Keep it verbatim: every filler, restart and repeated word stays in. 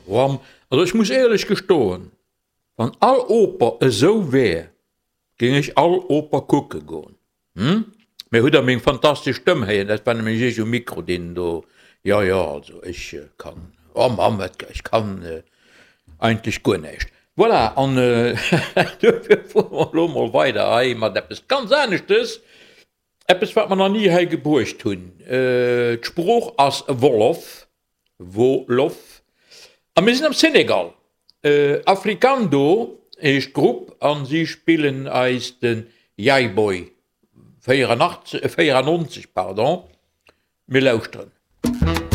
Ram. Also ech muss éierlech gestoen, wann all Oper esou wär, géing ech all Oper kucke goen. Hm? Mee hutt der meng fantastesch Stëmm héieren? Dat war nämlech ech um Mikro, deen do, jo, jo, also ech kann, oh Mamm, wat, ech kann eigentlech guer näischt. Voilà, an duerfir fuere mer elo mol weider hei mat eppes ganz aneschtes, eppes, wat mer nach ni hei gebruecht hunn. D'Sprooch ass Wolof, Wolof, a mir sinn am Senegal. Africando heescht d'Grupp a si spillen eis de Yayboy véierundachtzeg, véierannonzeg, pardon. Mir lauschteren.